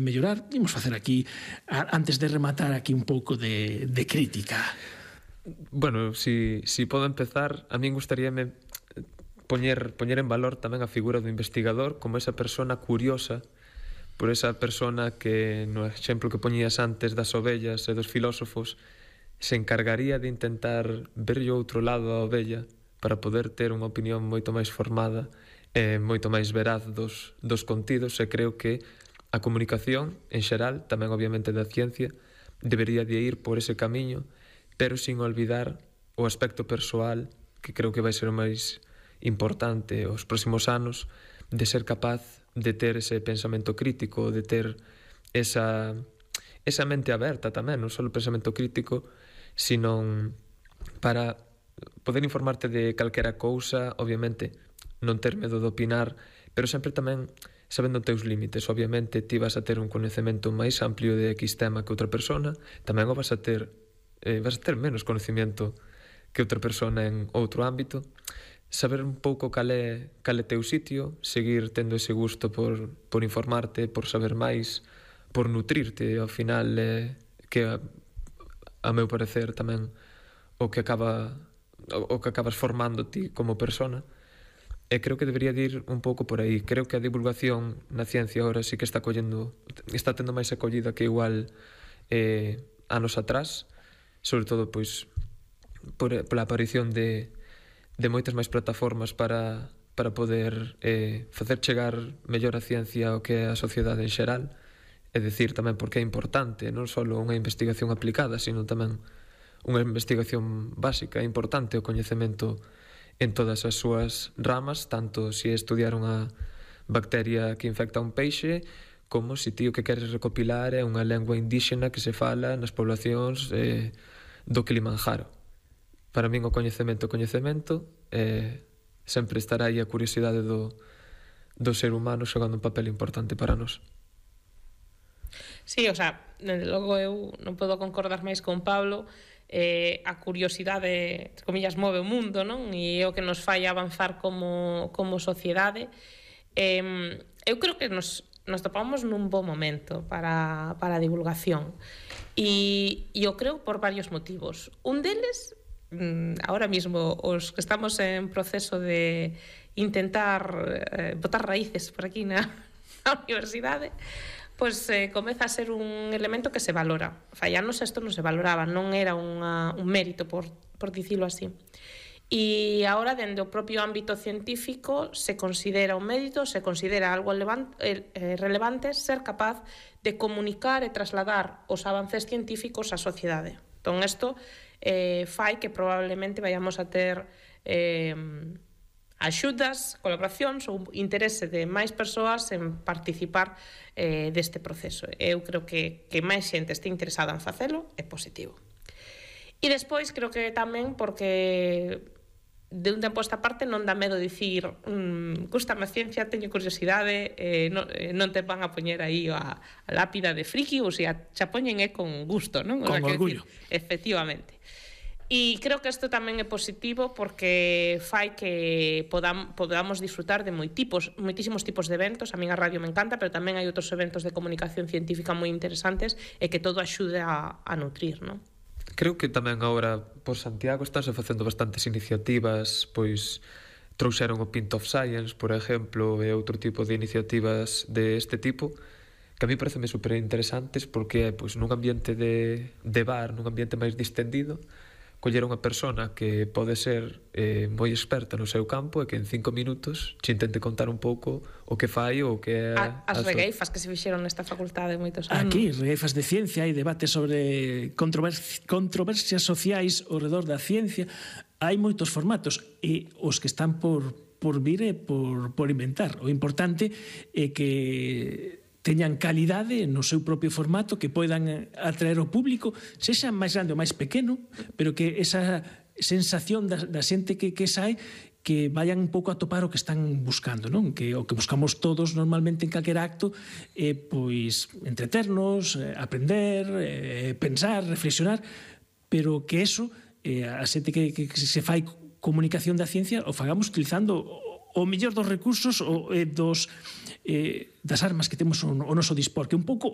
mellorar. Imos facer aquí, antes de rematar aquí un pouco de crítica. Bueno, si podo empezar, a min gustaríame poñer en valor tamén a figura do investigador como esa persona curiosa, por esa persona que, no exemplo que poñías antes das ovellas e dos filósofos, se encargaría de intentar ver o outro lado da ovella para poder ter unha opinión moito máis formada e moito máis veraz dos contidos, e creo que a comunicación, en xeral, tamén obviamente da ciencia, debería de ir por ese camiño, pero sin olvidar o aspecto persoal, que creo que vai ser o máis importante os próximos anos, de ser capaz de ter ese pensamento crítico, de ter esa mente aberta tamén, non só o pensamento crítico, sino para poder informarte de calquera cousa, obviamente non ter medo de opinar, pero sempre tamén sabendo os teus límites. Obviamente ti vas a ter un coñecemento máis amplio de X tema que outra persona, tamén o vas a ter menos coñecemento que outra persona en outro ámbito. Saber un pouco cal é teu sitio, seguir tendo ese gusto por informarte, por saber máis, por nutrirte, ao final, que a meu parecer tamén o que acabas formando ti como persona. E creo que debería de ir un pouco por aí. Creo que a divulgación na ciencia agora sí que está tendo máis acollida que igual anos atrás, sobre todo pois pola aparición de moitas máis plataformas para poder facer chegar mellor a ciencia ao que é a sociedade en xeral, e dicir tamén porque é importante non só unha investigación aplicada, sino tamén unha investigación básica. É importante o coñecemento en todas as súas ramas, tanto se estudiar unha bacteria que infecta un peixe, como se ti o que queres recopilar é unha lengua indíxena que se fala nas poblacións do Kilimanjaro. Para min o coñecemento sempre estará aí a curiosidade do ser humano xogando un papel importante para nós. Sí, o sea, logo eu non podo concordar máis con Pablo. A curiosidade, entre comillas, move o mundo, non? E é o que nos fai avanzar como sociedade. Eu creo que nos topamos nun bo momento para a divulgación, e eu creo por varios motivos. Un deles, ahora mismo os que estamos en proceso de intentar botar raíces por aquí na universidade, pois comeza a ser un elemento que se valora. Fai anos isto non se valoraba, non era un mérito, por dicilo así. E agora, dende o propio ámbito científico, se considera un mérito, se considera algo relevante ser capaz de comunicar e trasladar os avances científicos á sociedade. Entón, isto fai que probablemente vayamos a ter axudas, colaboracións ou interese de máis persoas en participar deste proceso. Eu creo que máis xente este interesada en facelo é positivo. E despois creo que tamén porque de un tempo a esta parte non dá medo dicir gústame a ciencia, teño curiosidade, non te van a poñer aí a lápida de friki, ou se xa poñen con gusto, non? Con orgullo. Efectivamente. E creo que isto tamén é positivo porque fai que podamos disfrutar de moitísimos tipos de eventos. A min a radio me encanta, pero tamén hai outros eventos de comunicación científica moi interesantes e que todo axude a nutrir, non? Creo que tamén agora por Santiago estánse facendo bastantes iniciativas, pois trouxeron o Pint of Science, por exemplo, e outro tipo de iniciativas deste tipo, que a mí pareceme super interesantes porque é pois nun ambiente de bar, nun ambiente máis distendido, coller unha persona que pode ser moi experta no seu campo e que en 5 minutos te intente contar un pouco o que fai ou o que é as regueifas que se fixeron nesta facultade moitos anos. Aquí, regueifas de ciencia, hai debate sobre controversias sociais ao redor da ciencia. Hai moitos formatos e os que están por vir e por inventar. O importante é que teñan calidade no seu propio formato, que poidan atraer ao público, sexa máis grande ou máis pequeno, pero que esa sensación da xente que sae, que vayan un pouco a topar o que están buscando, non? Que o que buscamos todos normalmente en calquer acto é pois entreternos, aprender, pensar, reflexionar, pero que eso, a xente que se fai comunicación da ciencia, o fagamos utilizando o mellor dos recursos das armas que temos ao noso dispor, que un pouco